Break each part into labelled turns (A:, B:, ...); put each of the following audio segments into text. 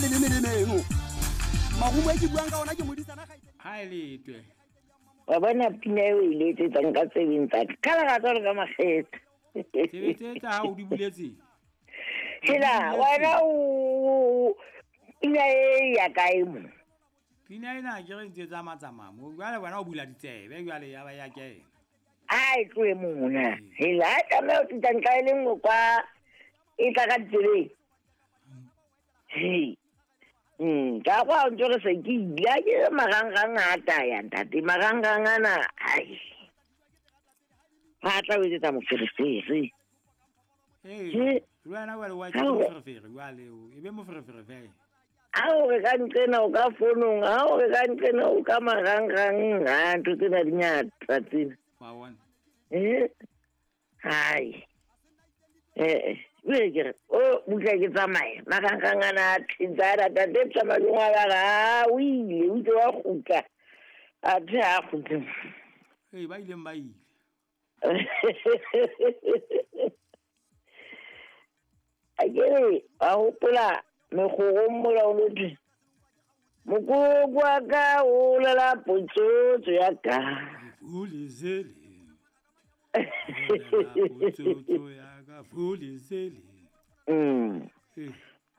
A: leleme le meno. Marumo e ke buang ka ona ke modisana ga
B: Ha e letwe.
C: Wa bona pina eo e letsetsang ka tse ding tsa ka. Ka lerato le ka makgethe.
B: Tsebe tse tsa hao di buletse.
C: Hela, wena o pina e ya kae mo?
B: Pina ena ke re ntse tsamaya mo. Jwale wena o bula ditsebe jwale ya ba ya kena.
C: A e tlohe mona. Hela, a tlameha ho fihla ntlha e le nngwe kwa e tla ka ditsebeng. Hei. Ka kwa o ntse re se ke ile a ke marangrang a taya ntate marangrang ana ai. Ba tla o etsetsa moferefere.
B: Ee,
C: He.
B: le wena jwale wa
C: Ha o-
B: moferefere jwale o e be moferefere fela.
C: Ha o re ka nqena o ka fonong, ha o re ka nqena o ka marangrang, ha ntho tsena di ngata tsena.
B: Wa bona.
C: Eh? Hai. Eh, jwale ke re, o butla ke tsamaye. Marangrang ana a thetsa a tate tsamayong wa ba re, ha o ile, o itse wa kgutla. Athe ha kgutle.
B: Ee, ba ileng ba ile.
C: A ke re, wa hopola mekgorong mola o lo thwe, mokoko wa ka o lela potsotso ya ka.
B: Fulizele. Potsotso ya ka fulizele. Ee.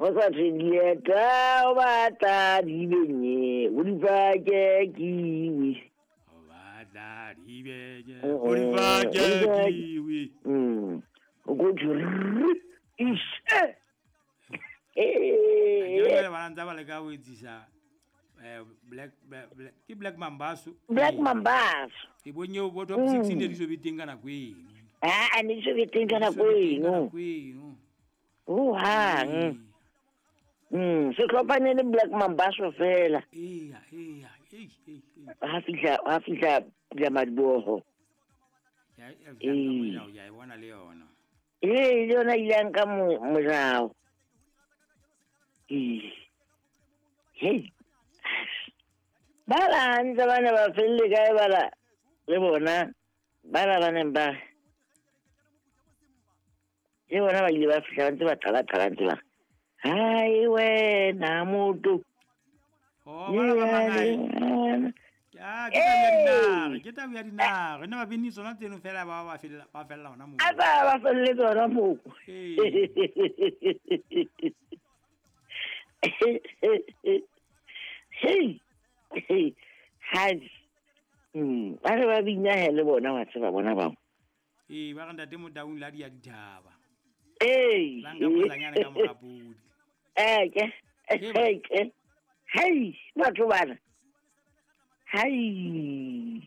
C: Ho sa thwe dieta o batla di benye, o di pake kiwi.
B: O batla di benye,
C: Oh,
B: o di pake
C: o di pake.
B: kiwi.
C: O ko thwe rrr, ishe.
B: Ke
C: Eh,
B: jwale bana ntse ba leka ho etsisa Black Black ke Black Mambazo.
C: Black Mambazo.
B: Ke bonye bo top 6 ne di so be teng ka nako eno.
C: Ha, a ne di so be teng ka
B: Di so
C: nako
B: be teng ka
C: eno.
B: nako eno.
C: Hohang. Sehlopha ne le Black Mambazo fela.
B: Eya, eya, ei, ei, ei.
C: Ha fihla Pula Madiboho.
B: Ya, ya fihla ka molao, ya e bona le yona.
C: Ee, le yona ile ya nka molao. Ee. Hei. Ba la hantle ba ne ba felle kae bala le bona bala ba neng ba le bona ba ile ba fihla ba ntse ba qala-qala ntse ba hai wena motho.
B: Oh, bana ba mangae. Ah, ke taba ya dinare, ke taba ya dinare. Ne ba bini tsona tseno fela ba ba fella ba fella hona moo.
C: A ba ba felletse hona moo.
B: Ee.
C: Hei. Hei. Hai. Ba re ba bina he le bona wa tseba bona bao.
B: Ee, ba re ntate Motaung la di ya dithaba.
C: Ee.
B: La nka potlanyane ka mora podi.
C: Eke.
B: Ee, ba.
C: Eke. Hei, batho bana. Hai.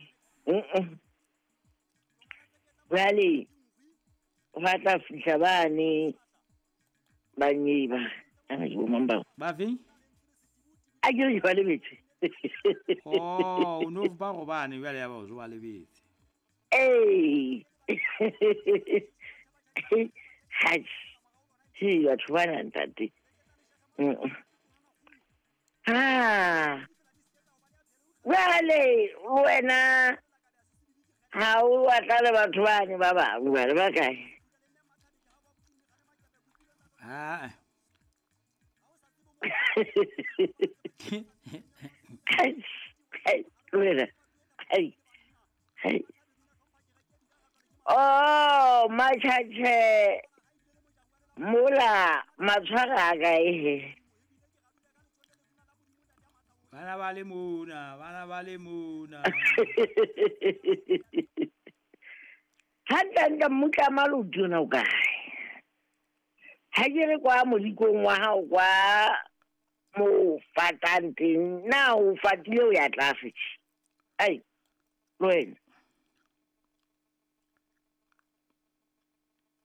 C: Jwale ba tla fihla bane ba nyeba. Ana ke bo mang bao?
B: Ba feng?
C: A ke re ke ba lebetse.
B: Oh, o no ba gobane jwale ya ba o ba lebetse.
C: Ee. Hai. Hei, batho bana ntate. Ah. Jwale wena ha o batla le batho bane ba bangwe ba le ba kae?
B: Ah.
C: Ai, wena. Ai. Ai. Oh, matjhatjhe. Mola matshwara a kae he?
B: Bana ba le mona, bana ba le mona.
C: Hantle-hantle mmutla malodi ona o kae? Ha ke re kwa modikong wa hao kwa mo fatang teng, na o fatile o ya tlase tje? Ai, le wena.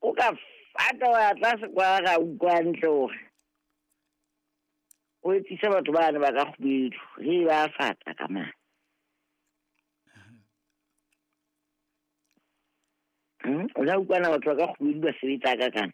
C: O ka fata wa ya tlase kwa ra utlwa hantle hore o etsise batho bane ba ka kgubedu, re ba fata ka mane. O la utlwana batho ba ka kgubedu ba sebetsa ka kana.